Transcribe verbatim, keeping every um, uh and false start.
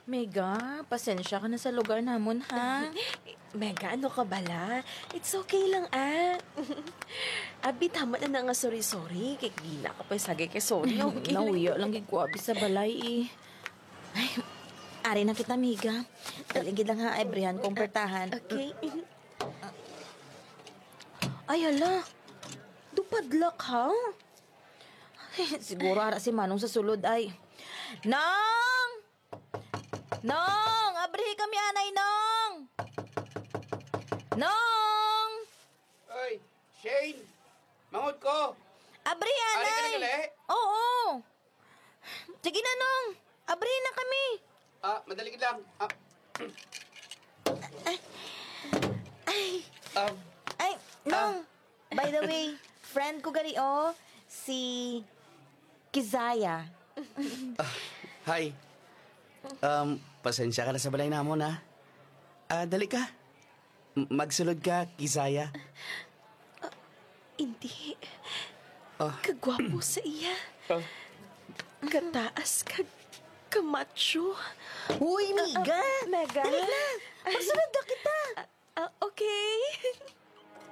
Mega, pasensya ka na sa lugar namon, ha? Mega, ano ka bala? It's okay lang, ah. Abi, tama na na nga sorry-sorry. Kay di na ka pa sagay kay sorry, okay lang. Nauya lang gid ko abi sa balay, eh. Ay, ari na kita, Mega. Dali gid lang, ha, abrihan kong pertahan. Okay. Ay, hala. Dupadlak, ha? Ay, siguro ara si Manong sa sulod, ay. Nong! Nong! Abrihi kami, anay, Nong! Nong! Oy, Shane! Manghod ko! Abrihi, anay! Ari ka na gali? Oo! Sige na, Nong! Abrihi na kami! Ah, madali lang. Ah. Ay! Ay! Um, Ay! Ah. Nong! By the way, friend ko gani, oh, si Kizaya. Ah, hi. Um, pasensya ka na sa balay namon, ha? Ah, dali ka. M-, magsulod ka, Kizaya. Ah, hindi. Ah. Kagwapo sa iya. Ah. Kataas kag kamacho. Uy, Mega! Ah, ah, Mega? Dali na! Magsulod na kita! Ah, ah, okay.